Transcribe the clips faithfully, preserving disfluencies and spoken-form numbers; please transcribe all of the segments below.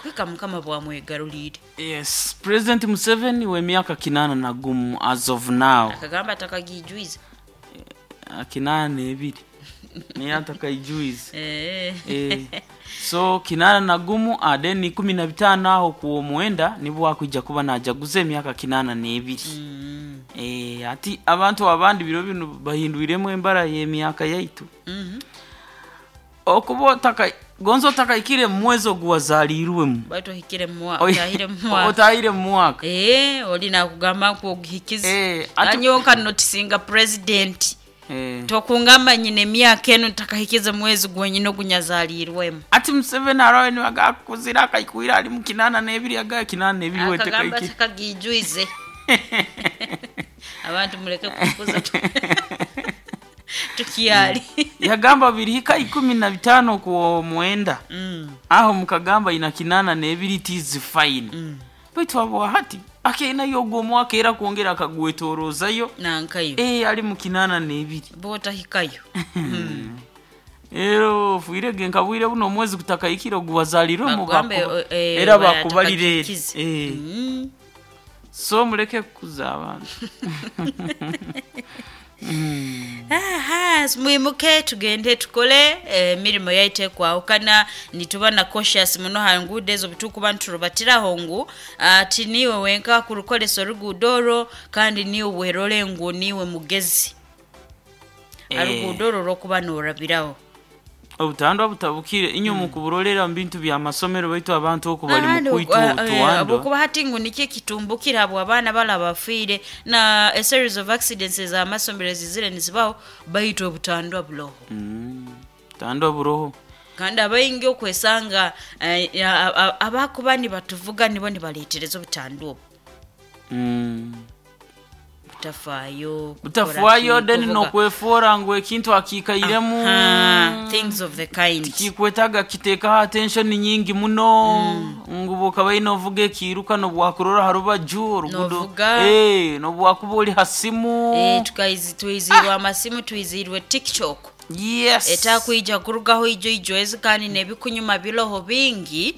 Kwika Mukama bwamwegarulire. Yes, President Museveni w'emyaka kinana na gumu as of now. Akagamba atakagijwiza. Kinana n'ebiri naye atakaijuiza. Eh. Eh, so kinana na gumu then ikumi na bitano aho ku mwenda nibwo akwija kuba najaguza emyaka kinana n'ebiri. Mm. Eh, ati abantu abandi biro bino bahindwiremu embara y'emyaka yaitu. Mhm. Okuba otaka gonzo otakaikire mu mwezi oguwazaalirwemu. Baitu ohikire mu mwaka, Oi- otahire mu mwaka. Otahire mu mwaka. Eh, oli nakugamba nku oguhikize. Eh, ati- Anyonka notisinga president. Eh. Tokungamba nyine emyaka eno ntakahikize mwezi gwenyine ogunyazaalirwemu. Ati Museveni arawe nibaga akuzira akaikwira ali mu kinana n'ebiri, aga kinana n'ebiri Akagamba wetekaikire. atakagijwize. Abantu muleke kukuza tukyali. Yagamba birihika ikumi na bitano ku mwenda. Mm. Aho mukagamba ina kinana n'ebiri, it is fine. Mm. Baitu abo hati akeina yogo omwaka era kwongera akagwetorozayo. Nankayo. Eh, ali mu kinana n'ebiri. Bwotahikayo. Ero ofuirege nkabwire buno omwezi gutakaikire oguwazaalirwemu Bakugambe, bakuba- eh, era bakubalire. atakagikize. Eh. Mm. So muleke kukuza abantu. Aha, mwimuke tugende tukole emirimu yaitu ekwahukana, nituba na cautious muno ha nguudo ezo butukuba niturubatiraho ngu ati niwe wenka kurukolesa oruguudo orwo, kandi niwe werole ngu niwe mugezi. Eh. Aruguudo orwo orwokuba norabiraho. Obutandwa butabukire inyo mm. mukuburolera mu bintu byamasomero baitu abantu oku bali Ahandi mu kwitwa oku- eh, otuwandwa. Habwokuba hati ngu nikyo ekitumbukire habwa abaana bala bafiire na a series of accidents ez'amasomero ezizire nizibaho baitu obutandwa buroho. Mm. Tandwa buroho. Kandi abaingi okwesanga eh, a- a- abakuba nibatuvuga nibo nibaleetereza obutandwa obu. Mm. Butafaayo. Butafaayo kukora ki, then kuvuga. Nokwefoora ngu ekintu akiikairemu. Aha, things of the kind. Kikwetaga kiteekaho attention nyingi muno ngu bwokaba ine ovuga ekiiruka nobwakurora ha rubaju orugudo. Novuga. Eh, nobwakuba oli ha simu. Eh, tukaizi twizirwe amasimu, twizirwe TikTok. Yes. Etakwija kurugaho ijo ijo ezi kandi nebikunyuma biroho bingi.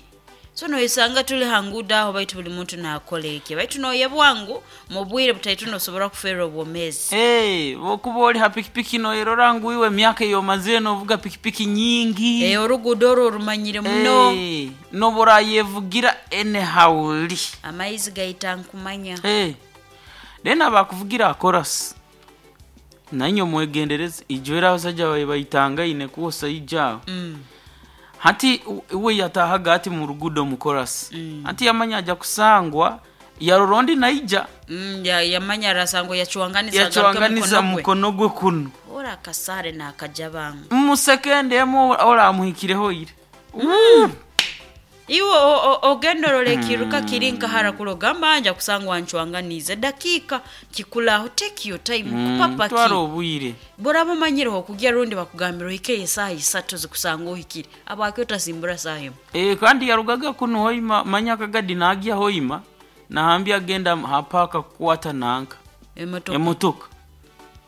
So noisanga tuli hangudo aho baitu buli muntu nakola eki, baitu noyebwa ngu mu bwire butaitu nosobora kufeerwa obwomeezi. Hey, bwokuba oli ha pikipiki noyerora ngu iwe emyaka eyomazire novuga pikipiki nyingi. Eh, oruguudo orwo orumanyire muno. Hey, noborayevugira anyhowly. Amaizi gaita nkumanya. Hey. Then abakuvugira akorasi nainywe mwegendereze, ijo era abasajja bawe baitangaine kwosa ijo aho. Mm. Hati u- we yatahaga ati mu rugudo mukorasi. Mm. Hati yamanya aja kusangwa yarora ondi naija. Mm, ya- yamanya arasango yacuwanganiza Yacuwanganiza mukono gwe. mukono gwe kuno. Ora akasare nakajabanga. Musekende emu oramuhikireho ire. Mm. Iwe o- o- ogenda orora ekiruka kiri nkahara kuroga nja kusangwa ncwanganize dakika kikulaho, take your time. Mm, Kupapa twara ki obwire. boraba omanyireho okugya rundi bakugambira ohike esaaha isatu zikusanga ohikire abwaki otasimbura saaha emu. E, kandi yarugaga kuno Hoima manya akagadi nagya Hoima nahambia agenda hapaka kukwata nanka Emotoka. Emotoka.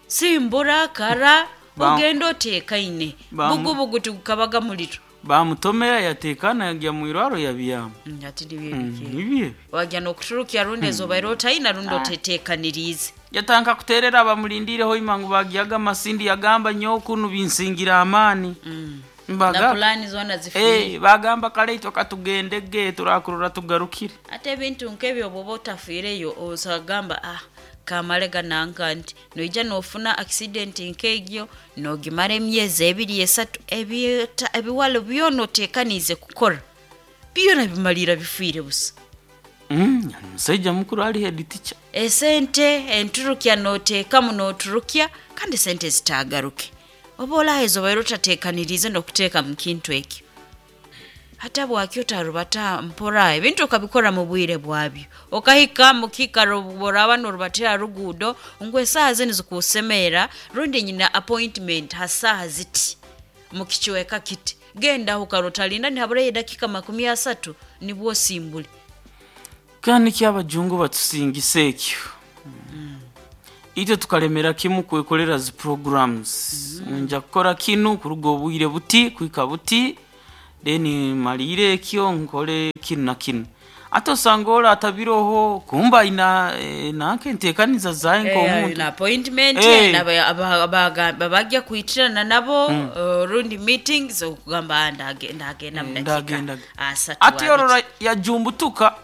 Simbura kara. Ba- Ogenda oteekaine. Ba- Bugubugu tigukabaga muliro. Bamutomera yatekana yagya mwirwaro yabyama. Mm, ati nibyo ebiki. Nibyo. Wagya n'okuturukya rundi ezobaire otaina rundi oteteekaniriize. Yatanka kuterera abamulindire Hoima ngu bagyaga amasindi, yagamba nyowe kunu binsingira amaani. Mm. Na Mbaga pulani zoona zifiire. Eh, bagamba kale itwe katugendege turakurora tugarukire. Ate ebintu nk'ebyo bw'oba otafiireyo osagamba ah kamale gananka nti noija nofuna accident nk'egyo nogimara emyezi ebiri esatu, ebyeta- ebiwalo byona oteekaniize kukora byona bimalira bifiire busa. Mm, yani musaija mukuru ali head teacher. Esente enturukya noteekamu noturukya kandi esente zitaagaruke oba olaheeza obaire otateekaniriize n'okuteeka mu kintu ekyo. Hata bwaki otarubata mpora ebintu okabikora mu bwire bwabyo, okahika mu kiikaro boraba norubatira ruguudo ngu esaaha zinu zikusemeera rundi nyina appointment ha saaha ziti mu kicweka kiti, gendaho kare otalinda nihaburayo edakika makumi asatu nibwo osimbule. Kandi kyabajungu batusingisa ekyo, itwe tukalemera kimu kwekolera zi programs. Nja kukora kinu kuruga obwire buti kwika buti. Then malire ekyo nkole kinu na kinu. Ate osanga ora atabiroho kumba ina eh, nanke enteekaniza zaye nk'omuntu. Na appointment Eh. babajja kuyitirana nabo eh, rundi meetings okugamba ndage- ndagenda mu Eh, dakiika ndagenda. asatu Ate abiri. orora yajumbutuka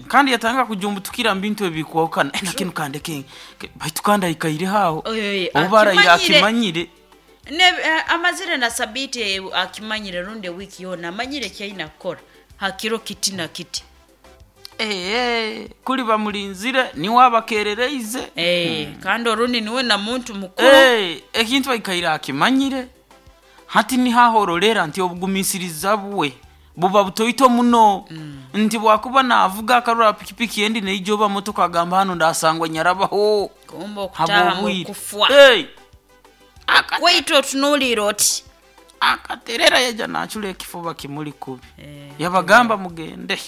kandi yatanga kujumbutukira mu bintu ebikwahukana. Eh, nakinu kandeke ke- baitu kandi aikaire haho. Oyo, oyo, Obu araire akimanyire. akimanyire. Ne, eh, amazire na sabiti eh, akimanyire rundi wiiki yona amanyire kyalina kukora hakiro kiti na kiti. Eh, eh, kuli bamulinzire niwe abakerereize. Eh, kandi orundi niwe na muntu mukuru. Eh, ekintu aikaire akimanyire. Hati nihahororera nti obugumisiriza bwe buba butoito muno. Nti bwakuba navuga akarura pikipiki endi neijoba motoka agamba hano ndasangwa nyarabaho. Kumba okutaha mu Habwobwire. kufwa. Hey! Akate- Waitu otunuulira oti. Akaterera yaja nachula ekifuba kimuli kubi. Eh, Yabagamba mugende.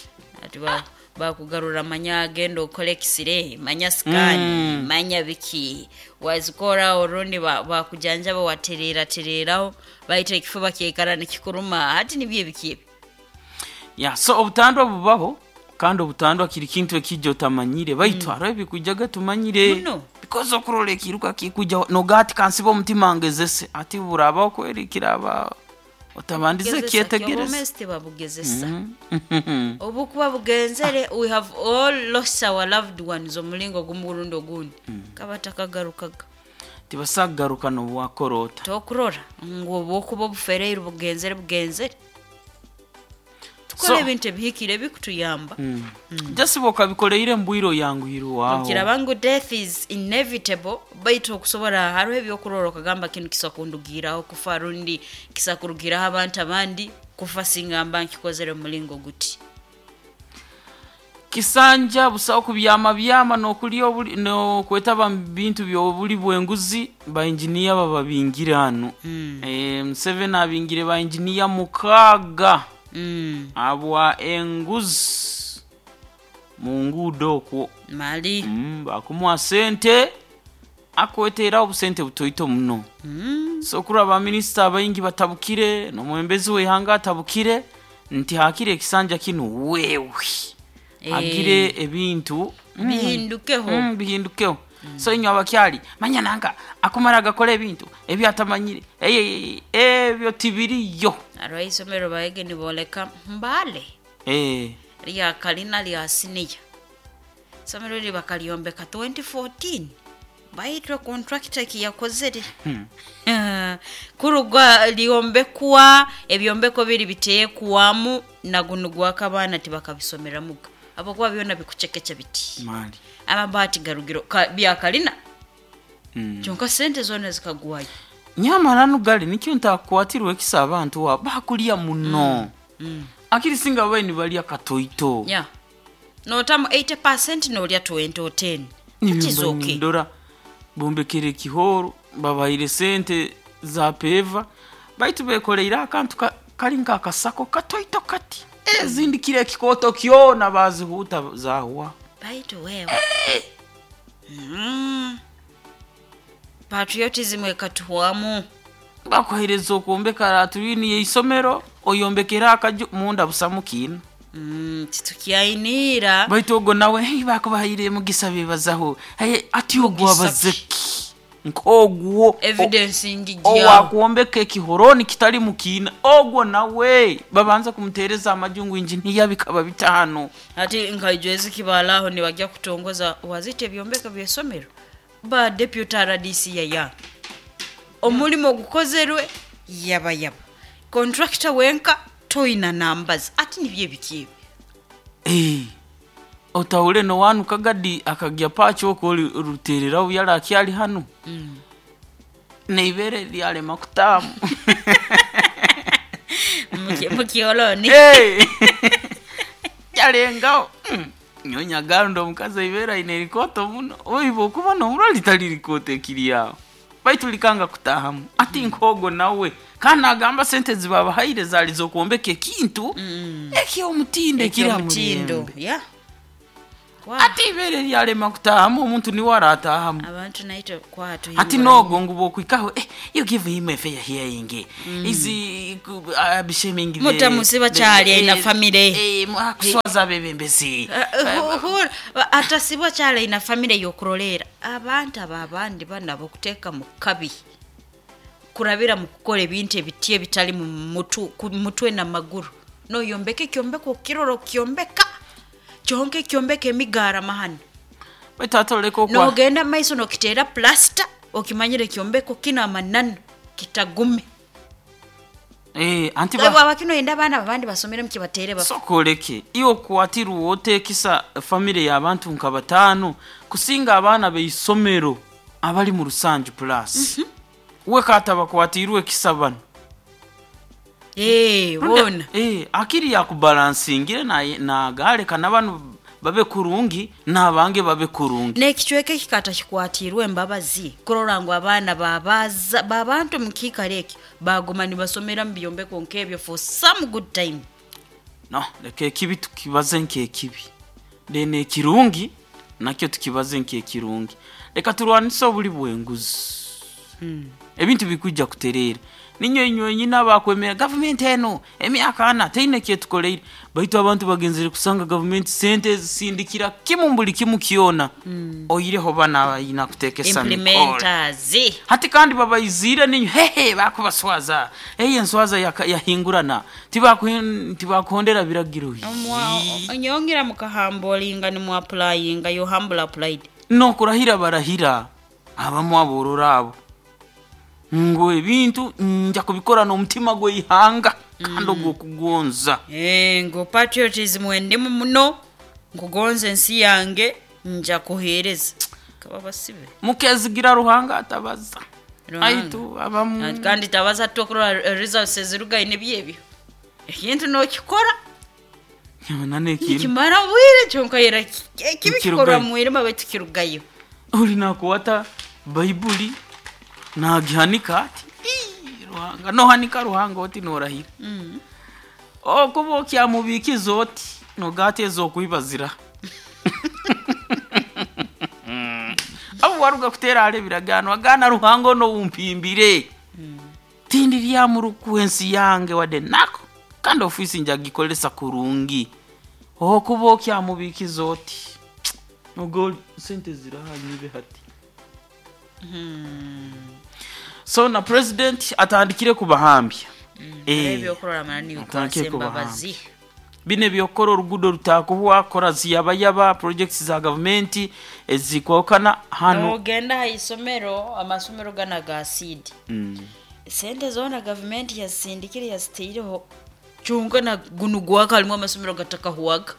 Ati ba- bakugarura manya agenda okole ekisire manya scan Mm. manya biki wazikora orundi ba- bakujanjaba waterera tereraho baita ekifuba kyekara nikikuruma hati nibyo ebiki ebi. Ya, so obutandwa bubaho kandi obutandwa kiri kintu ekijja otamanyire baitu hariho ebikwijaga tumanyire. Muno. Because okurora ekiruka kikujja nogati kansiba omutima ngezese ati burabaho kweri kiraba otabandize Gezesa, kyetegereza. kyobomezi tebabugezesa. Mm. Obukuba bugenzere we have all lost our loved ones omulingo gumu gurundi ogundi kaba takagarukaga. Tibasagaruka nobwakorota. Tokurora ngu obwokuba obufereire bugenzere bugenzere tukora So- ebintu ebihikire bikutuyamba. Just bokabikoleire mbwiro yanguhire waho. Kiraba ngu death is inevitable baitu okusobora hariho ebyokurora okagamba kinu kisa kundugiraho kufa rundi kisa kurugiraho abantu abandi kufa singamba nkikozere mulingo guti. Kisanja busaho kubyama byama nokulya obuli nokwetaba mu bintu byobuli bwenguzi ba engineer bababingire hano. Mm. Eh, Museveni abingire ba engineer mukaaga Mm. abwa enguzi mu nguudo okwo. Mali. Mm, bakumuwa sente akweteraho obusente butoito muno. Mm. So kuri abaminisita abaingi batabukire n'omwembezi w'ihanga atabukire nti hakire ekisanja kinu wewe Eh. agire ebintu mm, Bihindukeho. mm, bihindukeho. So inywe abakyali manya nanka akumara agakora ebintu ebyatamanyire ey, ebyo tibiriyo. Hariho isomero bahege niboleka mbale Eh, lya kalina lya siniya isomero eri bakalyombeka twenty fourteen baitwe contractor kiyakozere. Hmm. Kurugwa lyombekwa ebyombeko biri biteekwamu nagunu gwakabaana tibakabisomeramuga abakuba byona bikucekeca biti. Mali. Amabaati garugiro ka, byakalina. Mm. Kyonka sente zona zikagwayo. Nyamara nugali nikyo ntakwatirwe ekisa abantu wa bakulya muno. Mm. Akiri singa babaye nibalya katoito. Yeah. Notamu eighty percent nolya twenty or ten. That is okay. Ndora bombekere ekihoro babaire sente za peva baitu bekoreire akantu ka, kari nk'akasako katoito kati ezindi kire ekikoto kyona bazihuta zahwa. Baitu wewe. Mm. Patriotism ekatuhwamu. Bakuhereza okwombeka laturini y'isomero oyombekera akaju munda busamu kiina. Mm, titukyainiira. Baitu ogwo nawe hey, bakubahaire mugisa bebazaho hey, ati ogwo Mugisa ki? abazeki nk'ogwo Evidence ngijyaho. Owakwombeka ekihoroni kitali mukiina ogwo nawe babanza kumutereza amajungu injiniya bikaba bitaano. Ati nkaijwezi kibalaho nibajya kutongoza wazite ebyombeko by'esomero ba deputy R D C yaya omulimo gukozerwe yaba yaba contractor wenka toina numbers ati nibye biki Eh, otahule no wanu kagadi akagya pacho okoli ruterera yala akyali hano. Mm. Neibere lyalema kutamu. Mukioloni. Hey. Yalengaho. Mm. Nyonya gando omukazi ibera ine rikoto muno. Oibo kuba no muro litali rikote kiriyaho. Baitu likanga kutahamu. Ati nkogo nawe. Kana agamba sente zibabahaire zali zo kuombeka ekintu. Mm. Ekyo omutindo ekira Eky'omutindo. mulembe. Yeah. Ati ibere lyalema kutahamu, omuntu niwe aratahamu. Abantu naitwe kwatu. Ati nogo ngu bokwikaho, eh, you give him a fair hearing. Mm. Is uh, shaming the Mutamusiba kyali aina family. Eh, akuswaza bebembezi. Uh, atasibwa kyali aina family yokurolera. Abantu ababandi bana bokuteeka mu kabi. Kurabira mu kukola ebintu ebiti ebitali mu mutu, mutwe na maguru. No yombeke kyombeko kiroro kyombeka. Kyonke kyombeke emigara mahano. Baitu kwa. Nogenda maiso nokitera plaster okimanyire kyombeko kina manano kitagume. Eh, anti ba abakino yenda bana abandi basomere mukibatere ba. Sokoleke iyo kwatiru wote kisa family ya abantu nka batano kusinga abana beisomero abali mu Rusanju plus. Mm -hmm. We kata bakwatirwe kisa bano. Eh, bona. Eh, akiri ya kubalancingire na na gale kana bano babe kurungi nabange babe kurungi. Nekichweke kikata kikwatirwe embabazi kurora ngo abana babaza babantu mkikaleke bagoma nibasomera mu byombeko nkebyo for some good time. No, leke kibi tukibaze nke kibi. Dene kirungi nakyo tukibaze nke kirungi. Leka turwanise obuli bwenguzi. Hmm. Ebintu bikujja kuterera. Ninyo inyo nyina bakwemera government eno emyaka ana teine kyetukoleire baitu abantu bagenzere kusanga government sente zisindikira kimu mbuli kimu kiona. Mm. Oyireho bana ina kutekesa implementers hati kandi babayizira ninyo hehe bakubaswaza eye nswaza yahingurana tibakuhondera biragiro onyongera mukahambolinga ni mu applyinga yo humble applied no kurahira barahira abamu aborora abo ngo ebintu nja kubikora n'omutima gw'eihanga kandi ogw'okugonza. Eh, ngo patriotism wendimu muno nkugonza ensi yange nja kuheereza kaba basibe mukezigira Ruhanga atabaza aitu abamu kandi tabaza tokurora results zirugaine byebyo ekintu nokikora nane kintu kimara bwire kyonka yera kibikora mwirima betu kirugayo uri nakuwata Baibuli nagihanika ati Ruhanga no hanika Ruhanga oti norahira. Mm. Okuba okyamubikiza oti nogate ezokwibazira. Abo waruga kutera ale biragano agana Ruhanga no umpimbire. Mm. Tindi lya muruku ensi yange wade nako kandi ofisi njagikolesa kurungi. Okuba okyamubikiza oti nogo sente zirahanyibe hati. Hmm. So na president atandikire kubahambya. Mm. Eh, ebyokorora manani yukwase bine byokora orugudo rutakuhwa kora ziyabayaba projects za government ezikwokana hano nogenda ha isomero amasomero gana ga seed. Mm. Sente zona government yasindikire yasiteireho chunga na gunugwa kalimo amasomero gatakahuwaga.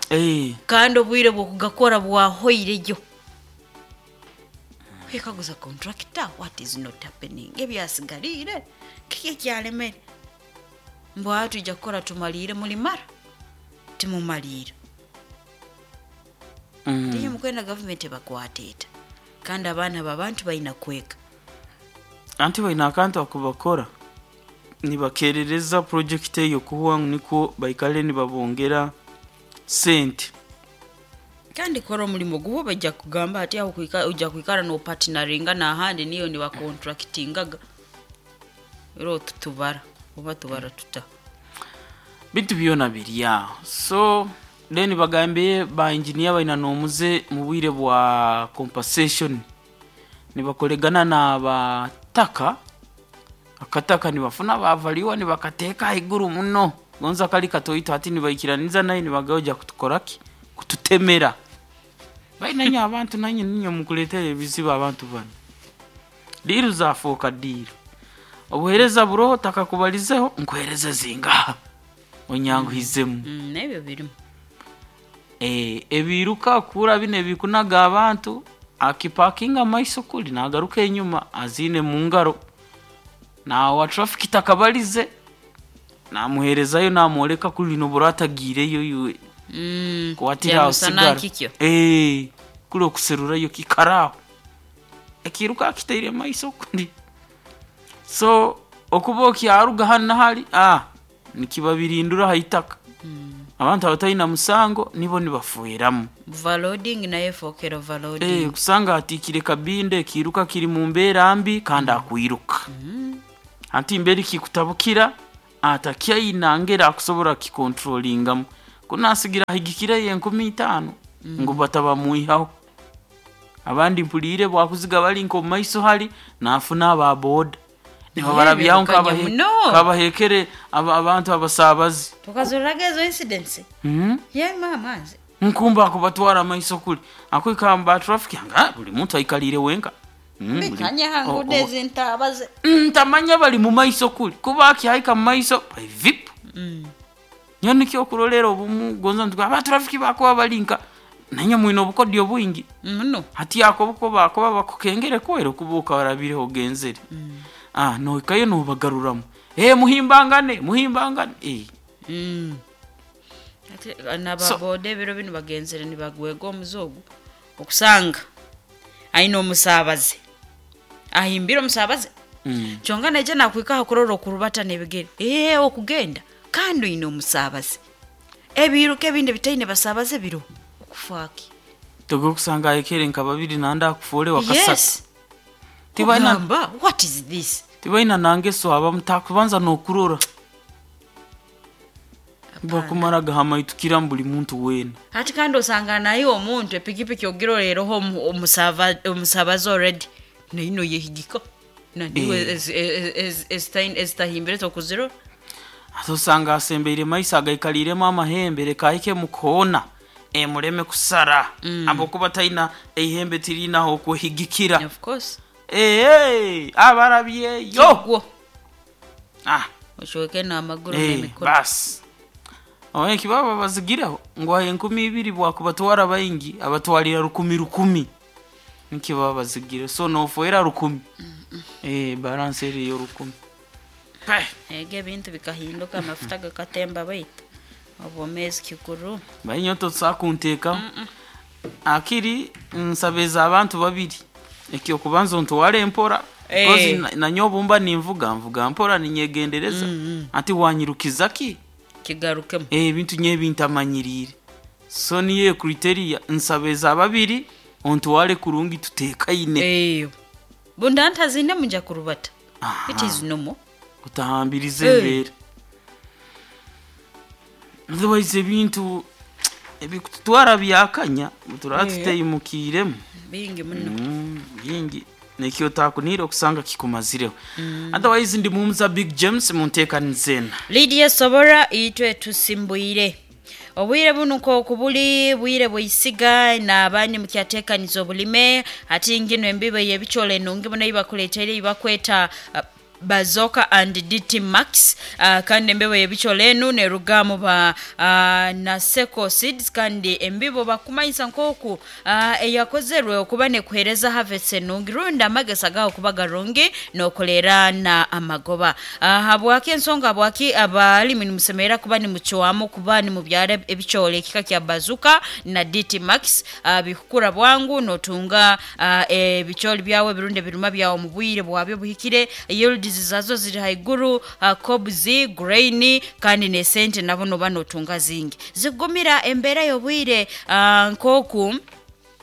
Eh, kandi obwire bwokugakora bwahoireyo ekaguza contractor what is not happening ebyasigalire kiki kyalemere mbwa tujja kukora tumalire mulimara timumalire. Mm. Ndiye mukwenda government bakwateta kandi abana babantu bayina kweka anti bayina akantu akubakora nibakerereza project eyo kuhuwa niko baikale nibabongera sente kandi kora omulimo gubo bajja kugamba ati aho kuika ujja kuikara no partneringa na handi niyo ni bakontractingaga ero tutubara oba tubara tuta bitu byona birya. So then bagambe ba engineer baina nomuze mu bwire bwa compensation nibakolegana na bataka akataka nibafuna bavaliwa nibakateka iguru muno gonza kali katoito ati nibaikiraniza naye nibagaoja kutukoraki kututemera baina nyo abantu nanyo ninyo mukuletera ebizibu abantu bano diru zafoka diru obuhereza buroho takakubalizeho nkuhereza zingaha onyanguhizemu. Mm, nebyo birimu eh ebiruka kura bine bikunaga abantu akipakinga maiso kuli nagaruka enyuma azine mu ngaro na wa traffic takabalize namuherezayo namworeka kuli no buratagireyo yuwe. Mm, kwatira usigara eh kuli okuserurayo kikaraho ekiruka kiteire maiso kundi so okuba okyaruga hano hali ah nikibabirindura haitaka. Mm. Abantu abatalina musango nibo nibafueramu. Overloading naye efokera overloading. Eh, kusanga atikire kabinde kiruka kiri mu mbeera mbi kandi akwiruka. Anti mberi kikutabukira atakyaina ngera akusobola kikontrolingamu kunasigira ahigikire enkumi itaano ngu batabamuihaho. Abandi mpulire bwakuziga bali nko mu maiso hali nafuna aba boda nibo Eh, barabyaho birukanye nkabahe- muno. nkabahekere aba- abantu abasabazi. Tukazorraga ezo incidents. Mhm. Ye mama nze Nkumba akubatwara amaiso kuli akwikamba traffic nga buli muntu aikalire wenka. Mm, buli- bikanye o- hangude o- ezintabaze. Ntamanya bali mu maiso kuli kuba akihaika mu maiso by vip nyo nikyo okurolera obumu gonza nti aba traffic bakuba balinka nanye mwine obukodyo bwingi Muno. hati ako buko bakuba bakukengere kwera okubuuka warabireho ogenzere. Ah, noikayo nobagaruramu, eh, muhimbangane muhimbangane, eh. Mm. Ate nababoda ebiro bino bagenzere nibagwega omuze ogu okusanga aine omusaabaze ahimbire omusaabaze. Mm. Kyonka naija nakwika hakurora okurubata n'ebigere ee okugenda kandi oine omusaabaze ebiruka ebindi bitaine basaabaze biro okufaaki. Toge okusanga ayekere nka babiri nanda akufuure wakasatu. Yes. Tibalina Ogamba, what is this? Tibalina nangeso abamu takubanza nokurora bakumara gahamaitukira buli muntu weena. Hati kandi osanga naye omuntu epikipiki ogirorereho omu- omusava- omusabazi already naino yehigika naniwe Eh. ezitahimbire tokuzirora. Ate osanga asembeire maiso agaikaliremu amahembe leka ahike mukoona emureme kusara mm. Abokuba talina eihembe tirinaho okwehigikira. Of course. Ee, abarabyeyo. Gwo Ah, oshweke n'amaguru eh, n'emikono. basi oeki baba bazigireho ngu ahe enkumi ibiri bwakubatwara baingi abatwalira rukumi rukumi nikyo baba bazigire so nofoera rukumi. Eh, balance eriyo rukumi. Pe. Ega ebintu bikahinduka amafuta gakatemba baitu obwomeezi kikuru. Bainyoto tusakunteekaho akiri nsabeza abantu babiri ekyokubanza ontware empora. Eh. Kozi na- nanye obumba ninvuga nvuga mpora ninyegendereza ati wanyirukiza ki? Kigarukemu. Eh, ebintu nye bintamanyirire so niyo criteria nsabeza babiri ontware kurungi tutekaine. Eyo bunda ntazine munja kurubata. Aha. It is normal. Kutahambiriza Eh. embeera otherwise ebintu ebikututwara byakanya turaba Eh. tuteyimukiremu. Bingi muno. Mm, bingi nekyo otakunire okusanga kikumazireho. Otherwise ndi mumuza Big James munteekanizena. Lydia Sobora itwe tusimbuire obwire buno nkoku buli bwire bwisiga n'abandi mukyateekaniza obulime ati ngino embibo y'ebikyolo enungi muno eibakuleeteire ibakweta uh, Bazoka and D T Max uh, kandi embibo y'ebikyolo enu nerugamu ba uh, Naseko Seeds kandi embibo bakumanyisa nkoku uh, eyakozerwe okuba nekuhereza harvest enungi rundi amagesa gaho kuba garungi nokolera na amagoba uh, habwaki ensonga habwaki abalimi nimusemerera kuba nimucwamu kuba nimubyara ebikyolo ekika kya Bazuka na D T Max uh, bikukura bwangu notunga uh, ebikyoli byawe ebirunde ebiruma byawe mu bwire bwabyo buhikire yields zazo ziri haiguru uh, cobs grain kandi nesente nabo noba notunga zingi zigumira embeera y'obwire uh, nkoku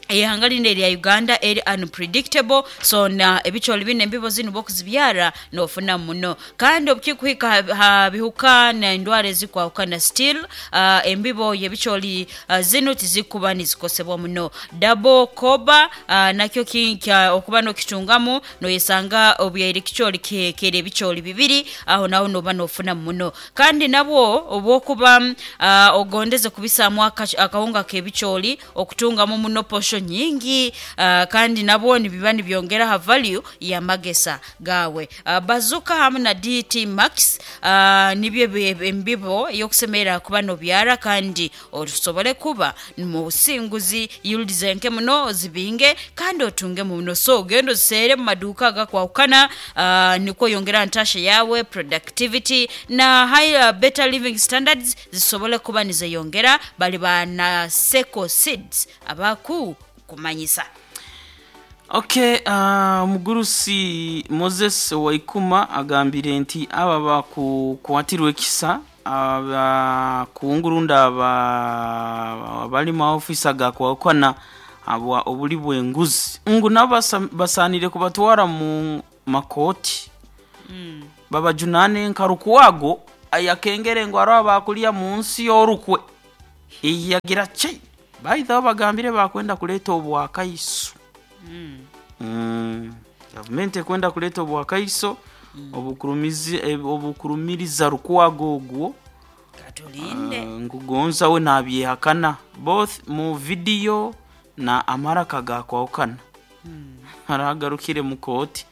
ihanga lino erya Uganda eri unpredictable so na ebikyoli bino embibo zino bokuzibyara nofuna muno kandi obukikuhika ha- ha bihuka nendwara ezikwahukana still uh, embibo yebikyoli uh, zino tizikuba nizikosebwa muno double koba uh, nakyo ki- kya okuba nokitungamu noyesanga obyaire kikyoli kihekere ebikyoli bibiri aho naho noba nofuna muno kandi nabwo obwokuba mm, uh, ogondeze kubisaamu aka- akawunga k'ebikyoli okutungamu muno posho nyingi uh, kandi nabwo nibiba nibyongera ha value y'amagesa gawe uh, Bazuka hamwe na D T Max uh, nibyo ebi- embibo ey'okusemerera kuba nobyara kandi osobole kuba mu businguzi yields enke muno zibinge kandi otunge muno so ogenda oziseere mu maduuka agakwawukana uh, nikwo yongera ntasha yawe productivity na high, uh, better living standards zisobole kuba nizeyongera bali ba Naseko Seeds abaku kumanyisa. Okay, uh, omugurusi Moses Waikuma agambire nti aba bakukwatirwa ekisa abakungu rundi aba abali mu ofisi gakwakwana abwa obuli bw'enguzi ngu nabo basanire kubatwara mu makoti Mm. babajunane nka Lukwago ayakengere ngo aro abakulia mu nsi y'orukwe iyagira ki baitha bagambire bakwenda kuleta obwakaiso. Mm. Mm. Gavumenti ekwenda kuleta obwakaiso mm. obukurumizi eh, obukurumiriza Lukwago ogwo. Katulinde. Uh, ngugonza we nabyehakana both mu video na amaraka gakwawukana. Mm. Aragarukire mu kooti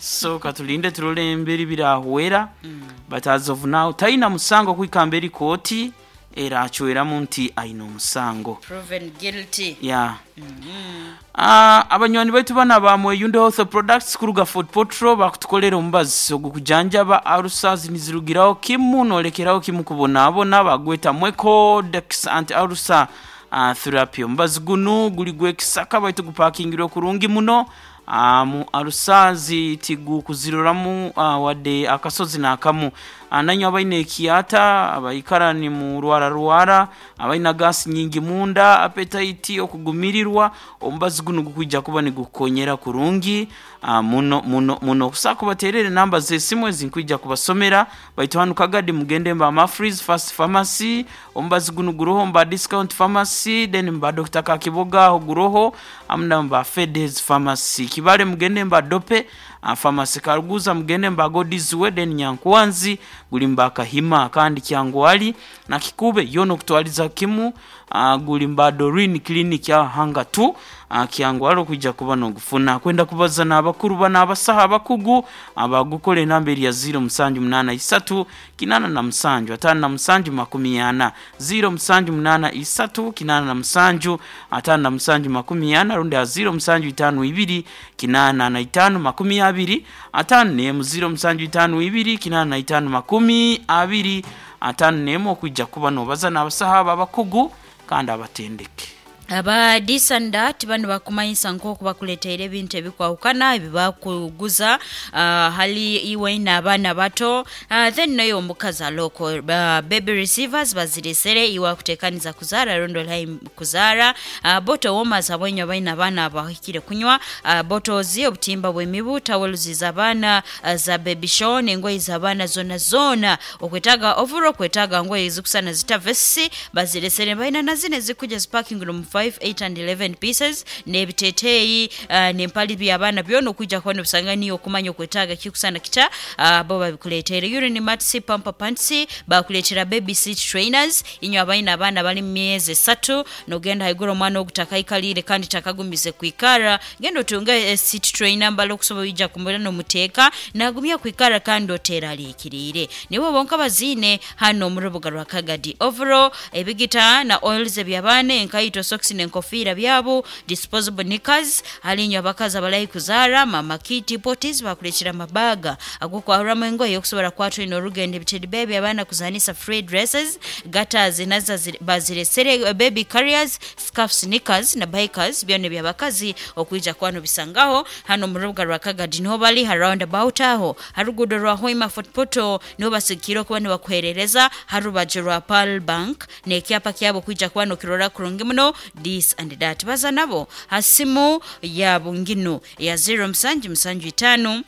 so katulinde turole emberi birahwera. Mm. But as of now taina musango kwikamba eri kooti era achweramu nti aina omusango. Proven guilty. Yeah. Mm -hmm. Uh, abanywani baitu bana ba Mweyunde Health Products kuruga Fort Portal bakutukolera omubazi ogukujanjaba ulcers nizirugiraho kimu nolekeraho kimu kubonaabona bagweta Mwecodex anti ulcer uh, therapy. Omubazi gunu guli gwekisaka baitu gupakingirwe kurungi muno. Uh, mu ulcers tigukuziroramu uh, wadde akasozi n'akamu. Uh, nanyo abaine ekiata abaikara ni mu rwara rwara abaina gasi nyingi munda appetite okugumirirwa omubazi guno gukwijja kuba nigukonyera kurungi uh, muno muno muno. Kusaka baterere namba z'esimu ezinkwija kubasomera baitu hanu Kagadi mugende mba Mafreeze Fast Pharmacy omubazi guno guroho mba Discount Pharmacy then mba Doctor Kakiboga aho guroho amna mba Fedes Pharmacy Kibale mugende mba Dope uh, Pharmacy Karuguza mugende mba Godizwe then Nyankwanzi guli mba Kahima kandi Kyangwali na Kikube yono kutwaliza kimu uh, guli mba Dorin Clinic ya hanga tu uh, Kyangwali kujja kuba nogufuna kwenda kubaza n'abakuru bana abasaha abakugu abagukole enamba eri ya zero musanju munana isatu kinana na musanju atano na musanju makumi ana zero musanju munana isatu kinana na musanju atano na musanju makumi ana rundi ya zero musanju itanu ibiri kinana na itanu makumi abiri atano nemu zero musanju itanu ibiri kinana na itanu makumi abiri atano nemu okwijja kuba nobaza n'abasaha abo abakugu kandi abatendeke. Aba disandat bano bakumanyisa nk'oku bakuleteire ebintu ebikwawukana ebibakuguza uh, hali iwe n'abaana bato uh, then nayo omukazi aloko uh, baby receivers baziresere iwe akutekaniza kuzaara rundi olayi kuzaara uh, bottle warmers abwenyu abaina abaana abahikire kunywa uh, bottles obutimba bw'emibu towels z'abaana uh, za baby shower n'engoye z'abaana zona zona okwetaaga overall okwetaaga ngoye zikusana zita vesi baziresere balina na zino ezikuja ziparking room five, eight and eleven pieces n'ebiteeteeyi uh, n'empali by'abaana byona okwijja kuba nobisanga niyo okumanya okwetaaga kikusana kita uh, bo babikuleetere urine mats pamper pants bakuleetera baby seat trainers inywe abaina abaana bali mu myezi esatu nogenda haiguru omwana ogu takaikalire kandi takagumize kwikara genda otunge eh, seat trainer mbala okusobola ija kumubona nomuteeka nagumya kwikara kandi oteraliikiriire nibo bonka baziine hano omu rubuga rwa Kagadi overall ebigita na oils eby'abaana enkaito socks n'enkofiira byabo disposable knickers hali abakazi abalayi kuzaara mama kiti potis bakuleetera amabaga ag'okwahuramu engoye okusobola kwatwina orugendo ebitedi bebi abaana kuzanisa free dresses gatters nazo baziresere baby carriers scarfs knickers na bikers byona ebyabakazi okwija kwano bisangaho hano mu rubuga rwa Kagadi niho bali ha roundabout aho harugudo rwa Hoima Fort Portal niho basikire okuba nibakuherereza harubaju rwa Pearl Bank n'ekyapa kyabo kwija kwano kirora kurungi muno this and that baza nabo hasimu ya bungino ya zero musanju musanju itano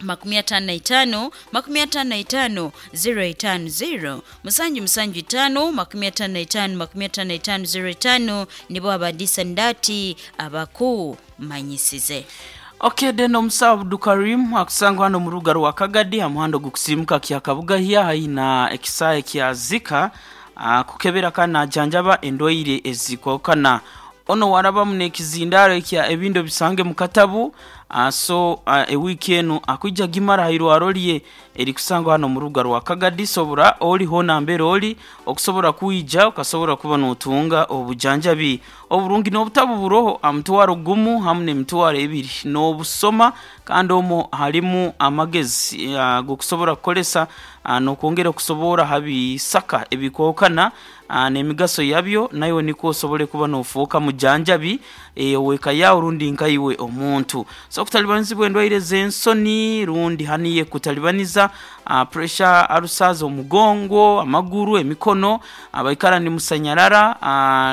makumi atano na itano makumi atano na itano zero itano zero musanju musanju itano makumi atano na itano makumi atano na itano zero itano nibo abadisandati abakumanyisize. Okay, then omusawo Abdukarim akusangwa hano mu rubuga rwa Kagadi amuhando gukusimuka kya Kabugahya haina ekisaye kya Zika uh, kukebera kana janjaba endwaire ezikwawukana ono warabamu n'ekizindaro ekya ebintu bisange mu katabu uh, so uh, ewiiki enu akwijja gimara hairwaro lye erikusangwa hano mu rubuga rwa Kagadi sobora oliho nambere oli okusobola kwija okasobola kuba notunga obujanjabi oburungi n'obutabu buroho amutwaro gumu hamu n'emitwaro ebiri n'obusoma kandi omwo harimu amagezi uh, gokusobola kukolesa Nokwongera okusobora habisaka ebikokana n'emigaso yabyo, nayo niko osobole kuba nofuuka mujanjabi oweka yawe rundi nkaiwe omuntu. So kutalibanizibwa endwaire z'ensoni rundi haniye kutalibaniza pressure arusaza omugongo, amaguru, emikono, abaikara ni musanyarara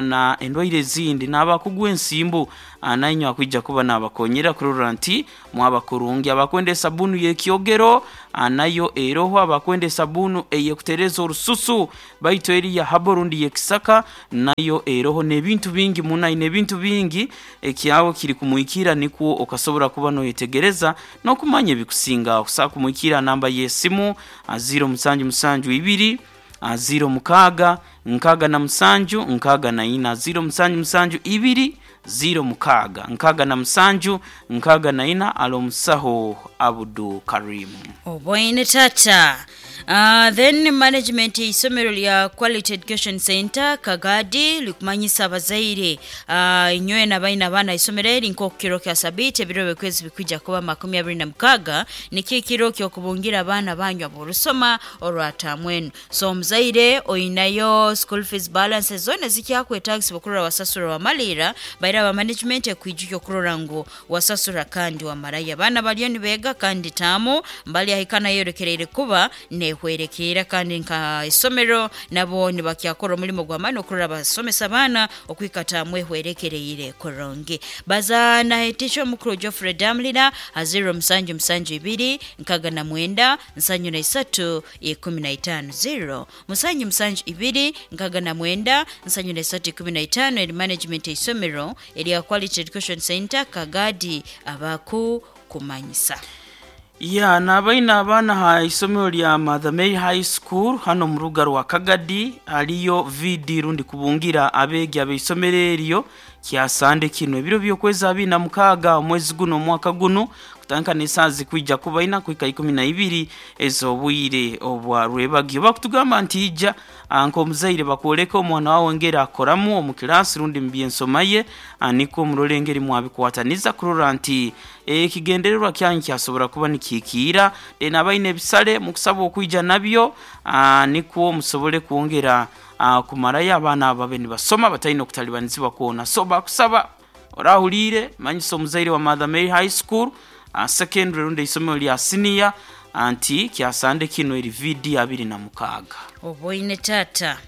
na endwaire ezindi n'abakugwa ensimbu, nainyo akwija kuba nabakonyera kurora nti mwabakurungi. Abakwenda esabunu y'ekyogero nayo eroho, abakwenda esabunu eyekutereza orususu baitu eri ya habo rundi yekisaka nayo eroho, n'ebintu bingi muna n'ebintu bingi ekyawe kiri kumwikira nikwo okasobora kuba noyetegereza n'okumanya ebikusinga. Okusobola kumwikira namba y'esimu ziro musanju musanju ibiri ziro mukaaga nkaaga na musanju nkaaga na ina, ziro musanju musanju ibiri ziro mukaaga nkaaga na musanju nkaaga na ina. Alo omusaho Abudu Karimu. Oboine tata. Uh, then management isomero lya Quality Education Center Kagadi likumanyisa abazaire uh, inywe n'abaina abaana isomero eri nk'okukiro kya sabiti ebiro byekwezi bikwija kuba makumi abiri na mukaga nikyo ekiro ky'okubungira abaana banyu aborusoma orwatamwenu. So omuzaire oinayo school fees balance zona zikyakwetagisibwa okurora wasasura wamalira, baira aba management ekwijukya okurora ngu wasasura kandi wamarayo. Abaana bariyo nibeega kandi taamu mbali ahikana yorekereire kuba nehwerekera, kandi nka isomero nabo nibakyakora omulimo gw'amaani okurora basomesa abaana okwikata mwehwerekereire kurungi. Baza nahetisha omukuru Geoffrey Damlina aziro musanju musanju ibiri nkaga na mwenda nsanju na isatu ikumi na itano, zero musanju musanju ibiri nkaga na mwenda nsanju na isatu ikumi na itano. Eri management isomero erya Quality Education Center Kagadi abaku kumanyisa. Ya nabaina abaana ha isomero lya Mother Mary High School hano mu ruga rwa Kagadi aliyo V D rundi kubungira abegi abeisomero eryo kyasande kino ebiro byokwezi abiri na mukaaga omwezi guno omwaka guno kutandika n'esaazi kwija kuba ina kuhika ikumi na ibiri ez'obwire obwa rwebagyo. Bakutugamba nti ija nk'omuzaire bakwoleka omwana wawe ngeri akoramu omu kilasi rundi mu byensoma ye, niko murole engeri mwabikwataniza kurora nti ekigendererwa kyanyu kyasobora kuba nikikiira. Then abaine ebisale mukusaba okwija nabyo, nikwo musobole kwongera kumarayo abaana ababe nibasoma bataine okutalibanizibwa kwona. So bakusaba orahulire manyisa omuzaire wa Mother Mary High School uh, secondary rundi isomero lya senior anti kyasande kino eri V D abiri na mukaaga. Oboine tata.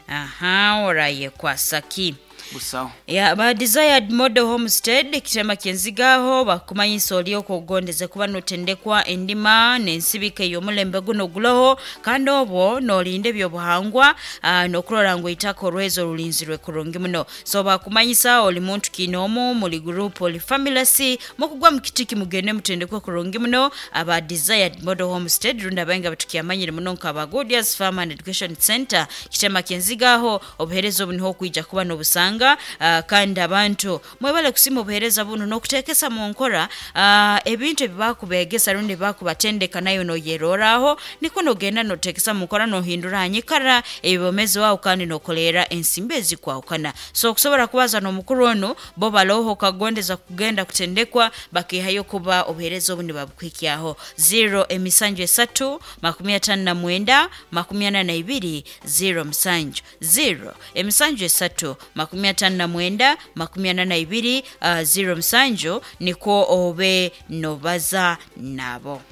Aha, oraye kwasaki. Busaho. Ya ba Desired Model Homestead kitema kyenzigaho bakumanyisa oli okugondeze kuba notendekwa endima n'ensibika ey'omulembe guno guloho, kandi obwo n'olinda ebyobuhangwa uh, n'okurora ngu eitaka orwezo rulinzirwe kurungi muno. So bakumanyisa oli muntu kinoomu muli group oli family si mukugwa mu kitiki mugende mutendekwe kurungi muno. Aba Desired Model Homestead runda abainga batukyamanyire muno nka Godias Farm and Education Center kitema kyenzigaho obuhereza obu niho kwija kuba n'obusanga. Uh, kandi abantu mwebale kusima obuhereza buno n'okuteekesa mu nkora uh, ebintu ebibakubegesa rundi bakubatendeka nayo noyeroraho niko nogenda notekesa mu nkora nohindura hanyikara ebibomezi wawe kandi nokolera ensimbi ezikwawukana. So okusobora kubaza n'omukuru ono bo baloho kagondeza kugenda kutendekwa bakihayo kuba obuhereza obu nibabukwikyaho. Zero emisanju esatu makumi atano na mwenda makumi ana na ibiri zero musanju, zero emisanju esatu makumi atano na mwenda makumi ana na ibiri uh, zero musanju niko obe nobaza nabo.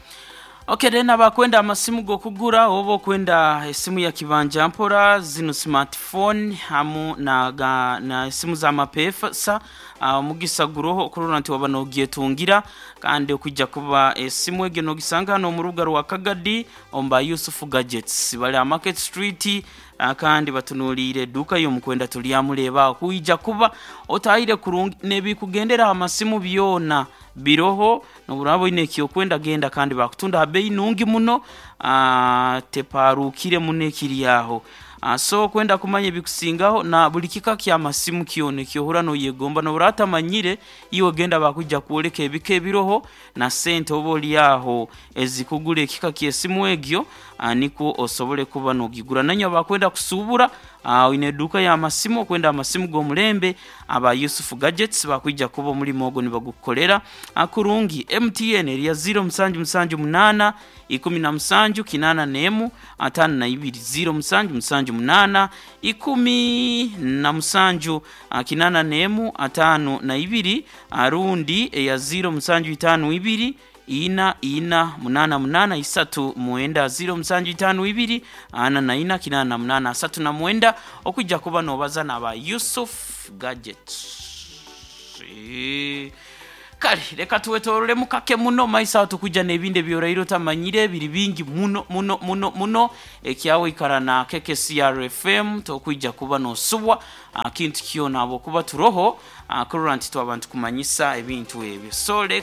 Okay, then abakwenda amasimu gokugura oba okwenda esimu ya kibanja mpora zino smartphone hamu na, ga, na esimu za mapesa omugisa guroho okurora nti waba nogyetungira, kandi okujja kuba esimu egyo nogisanga hano mu rubuga rwa Kagadi omba Yusuf Gadgets bali Market Street, kandi batunuliire edduuka y'omukwenda tulyamuleba okwijja kuba otayire kurungi nebikugendera amasimu byona biroho noburabo ine ekyokwenda genda, kandi bakutunda ha bei nungi muno, teparukire muno ekiri aho. So kwenda kumanya ebikusingaho na buli kika kya masimu kyona ekyohura noyegomba noburatamanyire iwe genda bakujja kwoleka ebika ebiroho na sente oba oli aho ezikugura ekika ky'esimu egyo, niko osobole kuba nogigura. Nanyo bakwenda kusubura uh, oine eduuka y'amasimu, okwenda amasimu g'omulembe, aba Yusufu Gadgets bakwija kuba omulimo ogwo nibagukukolera uh, kurungi. M T N eriya zero musanju musanju munaana ikumi na musanju kinaana n'emu ataano na ibiri, zero musanju musanju munaana ikumi na musanju uh, kinaana n'emu ataano na ibiri, uh, rundi eya zero musanju itaano ibiri ina ina munana munana isatu mwenda, zero musanju itaano ibiri ana na ina kinana na munana asatu na mwenda, okwijja kuba nobaza naba Yusuf Gadgets. Eh, kale reka tuwetorolemu kake muno maiso aho tukujja n'ebindi ebyoraire otamanyire biri bingi muno muno muno muno. Ekyawe ikara na K K C R F M, tokwijja kuba nosubwa ah, kintu kyona, habwokuba turoho ah, kurora nti twaba ntukumanyisa ebintu ebyo. So reka